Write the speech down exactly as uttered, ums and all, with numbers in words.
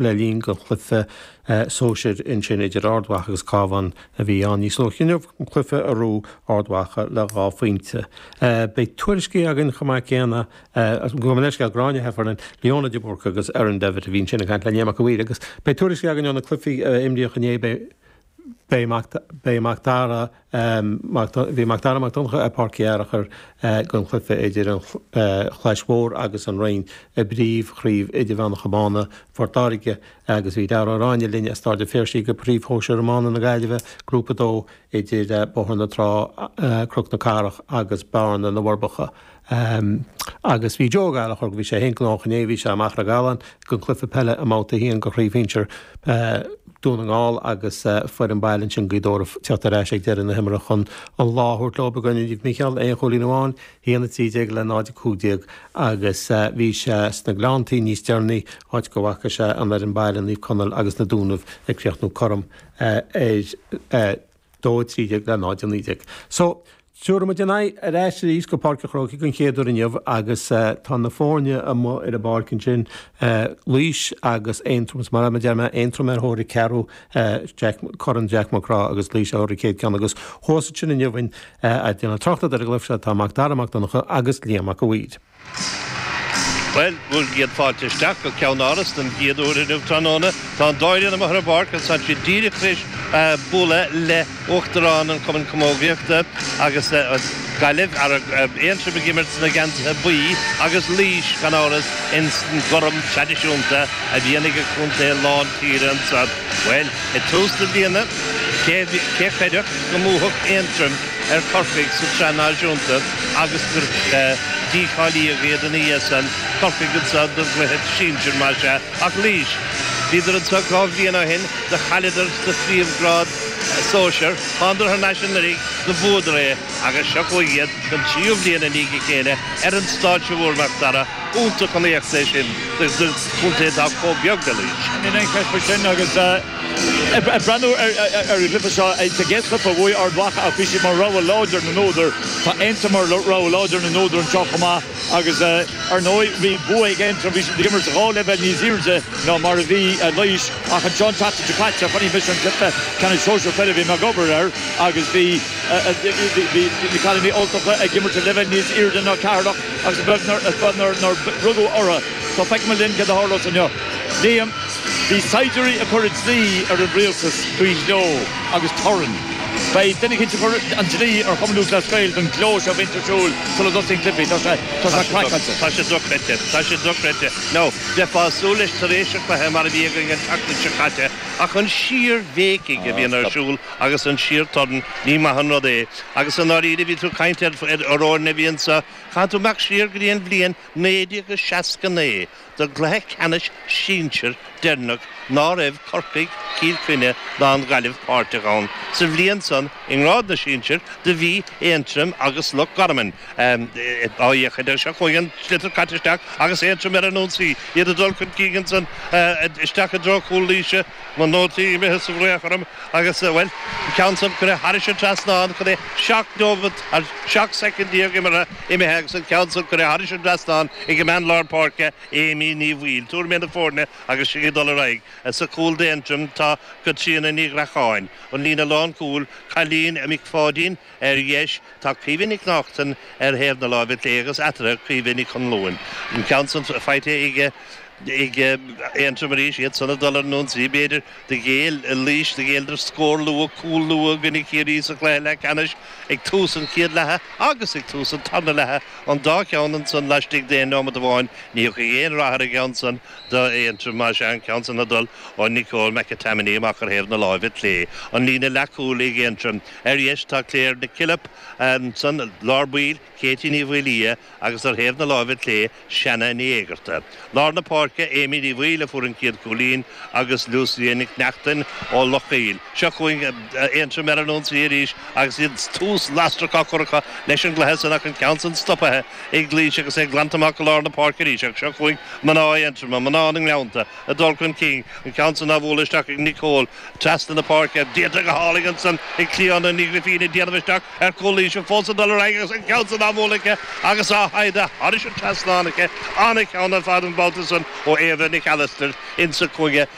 le linn don chluiche sóisir ansin idir Ard Mhacha agus Cabhán a bhí ann níos luaithe inniu, cluiche a bhuaigh Ard Mhacha le dhá phointe. Beidh tuairiscí againn chomh maith céanna, gabh mo leithscéal, Gráinne Heffernan, Leona de Búrca agus Erin Devitt a bhí ansin ag caint le Liam Mac a' Mhaoir agus beidh tuairiscí againn ó na cluichí a imríodh inné. Beidh Beidh Mac Dara Bhí Mac Dara Mac Donncha ar Pháirc Uí Fhearchair don chluiche idir an Chlais Mhór agus an Rinn i bPríomh-Chraobh Idirmheánach Iomána Phort Láirge agus bhí Dara Ó Ráinne linn as Ard an Phiarsaigh do Phríomh-Shóisir Iomána na Gaillimhe, Grúpa a dó, idir Bóthar na Trá, Cnoc na Cathrach agus Bearna na bhForbacha. Agus bhí Joe Ó Gallchóir, bhí sé féin gnóthach inné, bhí sé i Machaire Galán don chluiche peile i mbabhta a haon de Chraobh Shinsir Dún na nGall agus foireann baile ansin Gaoth Dobhair ag teacht ar ais ag deireadh na himeartha chun an lá a thabhairt leo i gcoinne Naomh Mícheál, aon chúilín amháin, a haon a trí déag le náid a cúig déag agus bhí sé sna Gleanntaí níos deireanaí, áit go bhfaca sé an fhoireann baile Naomh Conaill agus na Dúnaibh ag críochnú cothrom ar dó a trí déag le náid a naoi déag. So, tabharfaidh muid ár n-aghaidh ar ais arís go Páirc an Chrócaigh den chéad uair inniu agus tá na foirne amuigh ar an bpáirc ansin, Laois agus Aontroim, is mar a deir mé, Aontroim ar thóir a ceathrú Jack, Corn Jack McGrath agus Laois ar thóir a céad ceann agus thuas ansin inniu ag déanamh tráchta ar an gcluiche seo tá Mac Dara Mac Donncha agus Liam Mac a' Mhaoir. Bhuel, bhur gcéad fáilte isteach go Ceann-Áras den gcéad uair inniu tráthnóna. Tá an dá fhoireann amuigh ar an bpáirc agus tá siad díreach tar éis bualadh le Uachtarán an Chumainn Camógaíochta agus Gaillimh, Aontroim ag imirt sna geansaithe buí agus Laois, gan amhras, ins an gcorm traidisiúnta a bhíonn ag an chontae lán tíre anseo. Bhuel, i dtús na bliana, cé a chreidfeadh go mbuafadh Aontroim ar Chorcaigh sa tSraith Náisiúnta agus gur dícháilíodh iad ina dhiaidh san, Corcaigh anseo don gcluiche sinsir más ea, ach Laois, bhíodar anseo dhá bhliain ó shin, do chailleadar sa phríomhghrád sóisear, thánadar thar n-ais anuraidh, do bhuadar é agus seo chugainn iad don tríú bhliain i ndiaidh a chéile ar an stáitse mhór, Mac Dara, iontach an éacht é sin do chontae atá chomh beag le Laois. Níl aon cheist faoi sin agus ag breathnú ar an gcluiche seo, sa gcéad chluiche bhuaigh Ard Mhacha ach bhí siad mar rogha láidir na n-údar. Tá Aontroim mar rogha láidir na n-údar anseo chomh maith agus ar ndóigh bhí bua ag Aontroim, bhí siad ag imirt dhá leibhéal níos airde ná mar a bhí Laois ach anseo an tseachtain seo caite chonaic mise an cluiche ceannais sóisear peile a bhí mé ag obair air agus bhí bhí na cailíní Ultacha ag imirt ar leibhéal níos airde ná Ceatharlach agus is beag nár nár rugadh orthu. So feicfimid linn céard a tharlós inniu. Liam, Bhí saighdiúirí ag cur an dlí ar an rialtas faoi ghleo agus torann. Beidh duine eicínt ag cur an dlí ar Chumann Lúthchleas Gael don ghleo seo a bhíonns ar siúl sula dtosaíonn cluichí. Tá sé, tá sé craiceáilte. Tá sé dochreidte. Tá sé dochreidte. Now, bheifeá ag súil leis tar éis an chluiche mar a bhí againn an tseachtain seo caite, ach an síor-bhéicigh a bhíonn ar siúl agus an síor-torann, ní maith an rud é. Agus i ndáiríre, bhí tú ag caint ar fhoirne a bhí anseo, caithfidh tú imeacht siar go dtí an bhliain naoi déag is seasca naoi don gcluiche ceannais sinsir deireanach ná raibh Corcaigh, Cill Chainnigh ná an Ghaillimh páirteach ann. Sa bhliain san, i ngrád na sinsear, do bhí Aontroim agus Loch Garman á fhéachaint air. Seo chugainn an sliotar caite isteach agus Aontroim ar an ionsaí, iad ag dul chun cinn ansan isteach i dtreo chúl Laoise. Mo nótaí imithe sa bhfraoch orm agus, bhuel, an ceann san curtha thairis an trasnán chun é seacht nóimeat, seacht soicind déag imeartha imithe agus an ceann san curtha thairis an dtrasnán ag an mbean lár páirce, Amy Ní Bhaoill. Tuairimí na foirne agus sinn ag dul ar aghaidh. Sa chúl d'Aontroim tá Caitríona Ní Ghreacháin. An líne lánchúil, Cailín Mhic Pháidín ar dheis, tá Caoimhe Nic Neachtain ar thaobh na láimhe clé agus eatarthu Caoimhe Nic Chonluain. An ceann san faighte ag ag Aontroim arís, iad san ag dul ar an ionsaí, b'fhéidir. Do ghéill Laois, do ghéilleadar scór luath, cúl luath i gcoinne Chiarraí sa chluiche leathcheannais ag tús an chéad leatha agus ag tús an tarna leatha, an dá cheann ansan laistigh d'aon neomat amháin. Ní thiocfaidh aon rath ar an gceann san d'Aontroim, más ea, an ceann san ag dul ó Nicole McAtamney amach ar thaobh na láimhe clé. An líne leathchúil ag Aontroim. Ar dheis tá Claire Nic Pilib, ansan lár baill, Katie Ní Mhaolaodha agus ar thaobh na láimhe clé, Seanna Ní Éigearta. Lár na páirce, Amy Ní Bhaoill a fuair an chéad chúilín agus Lucia Nic Neachtain ó Loch Goill. Seo chugainn Aontroim ar an ionsaí arís agus iad tús lasrach á chur acu leis an gcluiche san ach an ceann san stopaithe ag Laois agus é glanta amach go lár na páirce arís ach seo chugainn mná Aontroma, mná na nGleannta, ag dul chun cinn, an ceann san á bhualadh isteach ag Nicole trasna na páirce, déanta go hálainn ansan ag Clíodhna Ní Ghrifín ag déanamh isteach ar chúl Laoise fós ag dul ar aghaidh agus an ceann san á bhualadh aici agus á shaighdeadh thairis an trasnán aici. An-cheann ar fad an babhta san ó Éabha Nic Alastair insa chúinne.